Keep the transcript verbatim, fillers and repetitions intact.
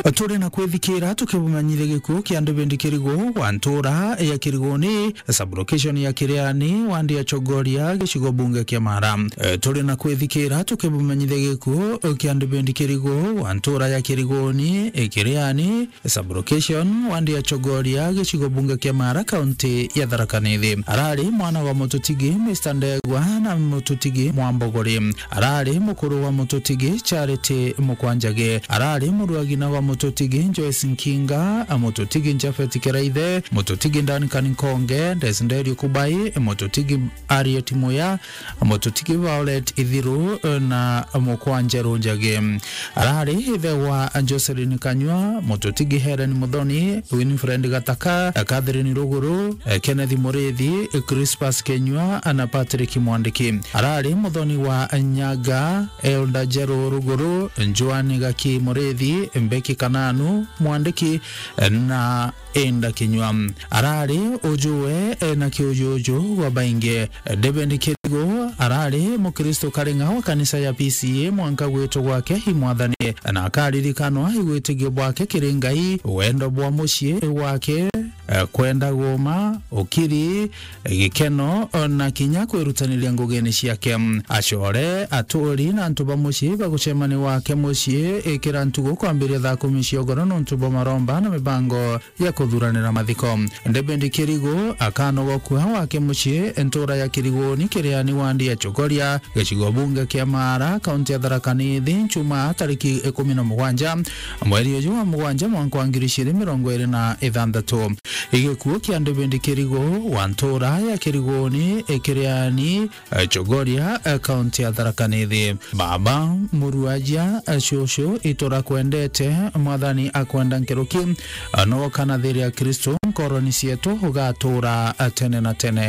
Turi na kwithikira tukibumenyithia gikuo kia David Kirigo wa ntura ya Kirigoni, sub-location ya Kiriani, wandi ya Chogoria, gicigo bunge kia Mara. Eh, turi na kwithikira tukibumenyithia gikuo kia David Kirigo wa ntura ya Kirigoni, eh, Kiriani, sub-location, wandi ya Chogoria, gicigo bunge kia Mara, kaunti ya Tharaka Nithi. Arari mwana wa Mututigi, Mister Ndegwa, na Mututigi Mwambogori. Arari mukuru wa Mututigi, Charity Mukwanjagi. Arari muruagina wa Mututigi, Joyce Nkinga, Mututigi Japhet Kiraithe, Mututigi Duncan Nkonge, Desideri Kubai, Mututigi Harriet Muya, Mututigi Violet Ithiru, na Mukwanja Runjagi. Arari ithe wa Jocelyn Kanyua, Mututigi Helen Muthoni, Winfred Gataka, Catherine Ruguru, Kenneth Murithi, Crispus Kenyua, na Patrick Mwandiki. Arari muthoni wa Nyaga, Elder Jero Ruguru, Joan Gaki Murithi, Mbeki Kananu Mwandiki, na Enda Kinyua. Arari ujuwe na kiujuju gwa baingi. David Kirigo arari Mukristo karinga wa kanisa ya P C A mwanka gwitwa gwake i Mwathani, na akaririkanwa i witigio bwake kiri Ngai, wendo bwa mucii wake, eh, kwenda guma, ukiri, gikeno, na kinya kwirutaniria ngugine ciake. Acore, aturi, na antu ba mucii bagucemania gwake mucii ikira ntugu kwambiria thaa kumi cia ugoro nontu bwa maromba na mibango ya kuthuranira mathiko. David Kirigo akanogokua wake mucii ntura ya Kirigoni, Kiriani, wandi ya Chogoria, gicigo bunge kia Mara, kaunti ya Tharaka Nithi, Njumaa tariki ikumi na mugwanja mweri uyu wa mugwanja mwanka wa ngiri igiri mirongo iri na ithanthatu. Igikuo kia David Kirigo wa ntura ya Kirigoni, Kiriani, eh, Chogoria, eh, kaunti ya Tharaka Nithi. Baba, muruaja, eh, cucu, iturakwendete, Mwathani akwenda nkuruki, eh, no kana thiiri ya Kristo nkoroni cietu ugatura, eh, tene na tene.